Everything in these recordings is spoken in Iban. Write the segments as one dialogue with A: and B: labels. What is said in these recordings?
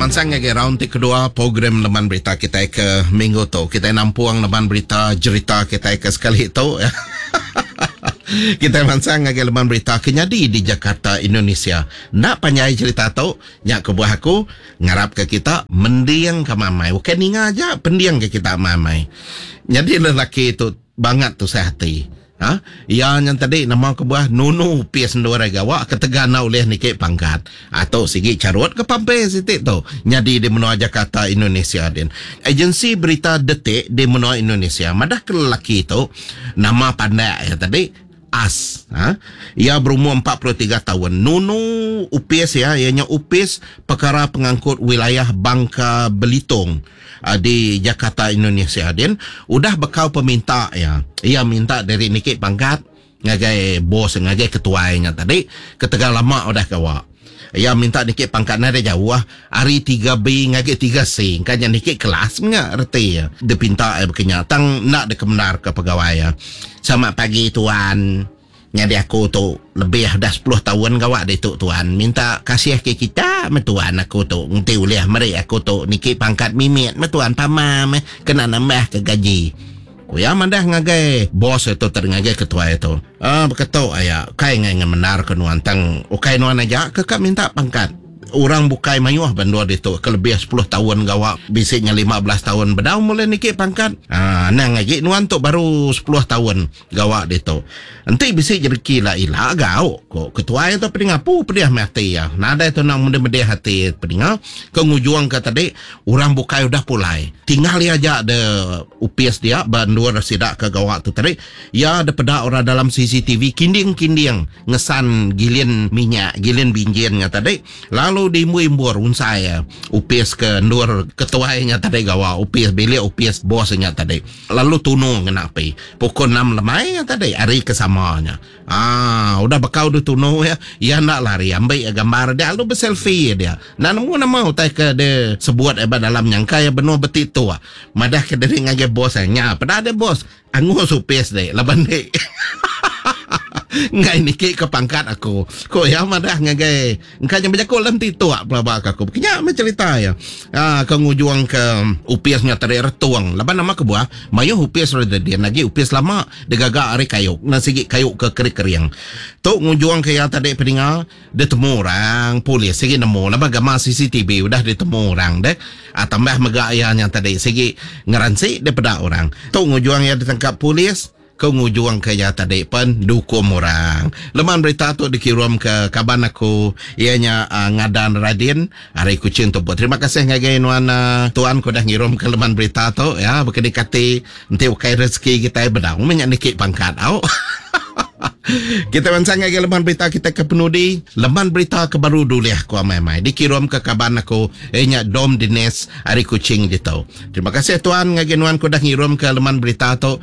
A: mansang ngagai round ti kedua program Leman Berita kitai ke minggu tu. Kitai nampung Leman Berita jerita kitai ke sekali tu. Kitai mansang ngagai Leman Berita ke nyadi di Jakarta, Indonesia. Enda panjai jerita tu, nya kebuah aku ngarapka kita mending ka amai. Ukai ninga aja, pending ka kita amai-amai. Nyadi lelaki tu bangat tusah ati. Ha? Iya nya tadi nama kebuah nunu opis endur ai gawa ketegal enda ulih niki pangkat. Ha, tu sigi charut ke pampe siti tu nyadi di menua Jakarta Indonesia din. Agensi berita Detik di menua Indonesia madah ke lelaki tu nama pandak iya tadi As. Ha? Iya berumur 43 taun. Nunu opis iya iya nya Opis Pekara Pengangkut Wilayah Bangka Belitung. Di Jakarta Indonesia din udah bekau peminta iya. Iya minta diri niki pangkat ngagai bos ngagai ketuai nya tadi ketegal lama udah gawa. Iya minta niki pangkat nadai jauh ari 3B ngagai 3C engka nya niki kelas menya reti iya dipinta iya baka nya tang enda dikemendarka pegawai iya. Selamat pagi tuan. Nyadi aku tu lebih udah sepuluh taun gawa ditu tuan. Minta kasih ke kita meh tuan aku tu enti ulih meri aku tu niki pangkat mimit meh tuan pama meh kena nambah ke gaji. Ku iya madah ngagai bos iya tu tadi ngagai ketuai tu. Aaa baka tu aya ukai ngai ngemendar ke nuan tang ukai nuan aja ke ka minta pangkat. Orang bukai mayuh ba endur ditu ke lebih sepuluh taun gawa bisi nya 15 taun bedau meh ulih niki pangkat. Aaa anang agi nuan tu baru sepuluh taun. Gawa ditu. Enti bisi jereki ila ila gau, ku ketuai tu pedinga apu pedih meh ati iya. Nadai tu nang medih-medih ati pedinga ke ngujungka tadi orang bukai udah pulai. Tinggal iya aja de opis dia ba endur sida ke gawa tu tadi. Iya dipeda orang dalam CCTV kinding-kinding ngesan gilin minyak, gilin binjin nya tadi lalu diimbur-imbur unsai iya opis ke endur ketuai nya tadi gawa, opis bilik opis bos nya tadi. Lalu tunu ngena api. Pukul enam lemai iya tadi hari ke sama nya. Aa udah bekau deh tunu iya, iya enda lari ambi iya gambar dia lalu beselfie dia. Enda nemu nama utai ke deh sebut iya ba dalam nyangka iya benung betituk madah ke diri ngagai bos iya. Nya peda deh bos angus opis deh laban deh enggai niki ke pangkat aku. Ku iya madah ngagai Engka nya bejaku dalam tituk pelaba ka aku. Nya meh cerita iya. Aa ke ngujung ke opis nya tadi retung. Laban nama kebuah mayuh opis re din agi opis lama digaga ari kayu enda sigi kayu ke kering-kering. Tu ngujung ke iya tadi peninga ditemu orang polis sigi nemu laban gambar CCTV udah ditemu orang deh. Aa tambah mega iya nya tadi sigi ngeransi dipeda orang. Tu ngujung iya ditangkap polis. Ke ngujungka iya tadi pen diukum orang. Leman berita tu dikirumka kaban aku iya nya Ngadan Radin ari Kuching Tubuk. Terima kasih ngagai nuan tuan ke udah ngirumka leman berita tu ya baka ni kati enti ukai rezeki kitai bedau meh nya niki pangkat au. Kita mansang ngagai leman berita kita ke penudi, leman berita ke baru dulih ku amai-amai dikirumka kaban aku iya nya Dom Dines ari Kuching ditu. Terima kasih tuan ngagai nuan ke udah ngirumka leman berita tu.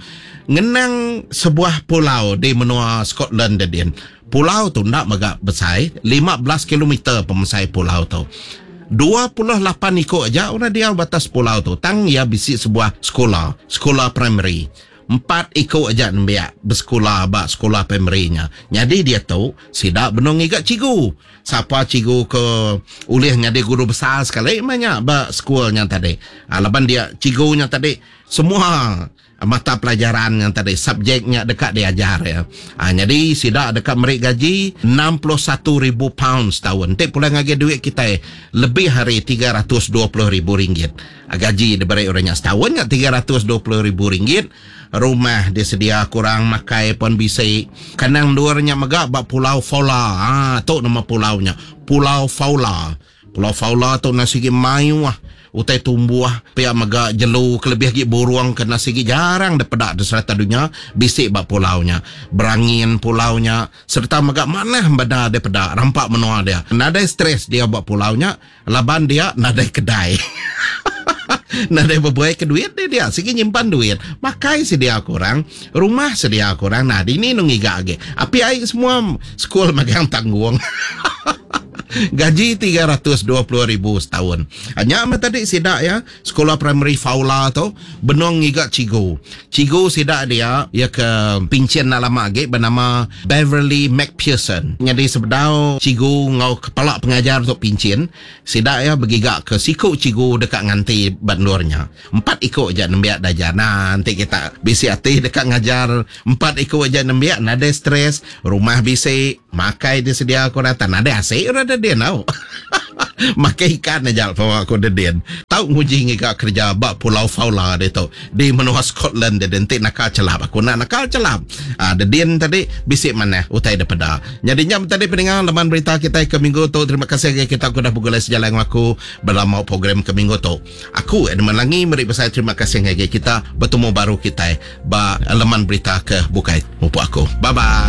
A: Ngenang sebuah pulau di menua Scotland dedin. Pulau tu enda mega besai, 15 kilometer pemesai pulau tu. 28 iku aja orang diau ba atas pulau tu tang iya bisi sebuah sekula, sekula primary. Empat iku aja nembiak besekula ba sekula primary nya. Nyadi diatu sida benung ngiga cikgu. Sapa cikgu ke ulih nyadi guru besar sekali meh nya ba sekul nya tadi. Laban dia cikgu nya tadi semua Mata pelajaran nya tadi subjek nya deka diajar iya. Ha, nyadi sida deka meri gaji 61,000 pound setaun. Enti pulai ngagai duit kitai lebih ari 320,000 ringgit. Ha, gaji diberi orang nya setaun nya 320,000 ringgit. Rumah disedia kurang makai pun bisi. Kandang endur nya mega ba Pulau Foula. Ha, tu nama pulau nya. Pulau Foula. Pulau Faula tu endang sigi mayuh utai tumbuh pia mega jelu kelebih agi burung ke endang sigi jarang dipeda di serata dunya bisi ba pulau nya. Berangin pulau nya sereta mega manah bendar dipeda rampa menua dia. Nadai stress diau ba pulau nya laban dia nadai kedai. Nadai bebuai ke duit deh dia sigi nyimpan duit. Makai sedia ke orang, rumah sedia ke orang. Nah dini nu ngiga agi. Api ai semua sekul magang tanggung. Gaji 320 ribu setaun. Nya meh tadi sida iya sekula primary Faula tu benung ngiga cikgu. Cikgu sida dia iya ke pinchin enda lama agi benama Beverly McPherson. Nyadi sebedau cikgu enggau kepala pengajar tu pinchin, sida iya begiga ke siku cikgu deka nganti ba endur nya. Empat iku aja nembiak dajar. Nah, enti kita bisi ati deka ngajar empat iku aja nembiak nadai stress, rumah bisi, makai disedia ku orang tan nadai asi orang dedin tau. Makai ikan aja pama ku dedin. Tau nguji ngiga kereja ba Pulau Faula ditu di menua Scotland dedin enti naka chelap. Aku enda naka chelap. Aa dedin tadi bisi manah utai dipeda. Nyadi nya tadi peninga leman berita kitai ke minggu tu. Terima kasih ngagai kita ke udah begulai sejalai enggau aku belama program ke minggu tu. Aku Edmund Langi meri besai terima kasih ngagai kita betemu baru kitai ba leman berita ke bukai. Mupuk aku. Bye bye.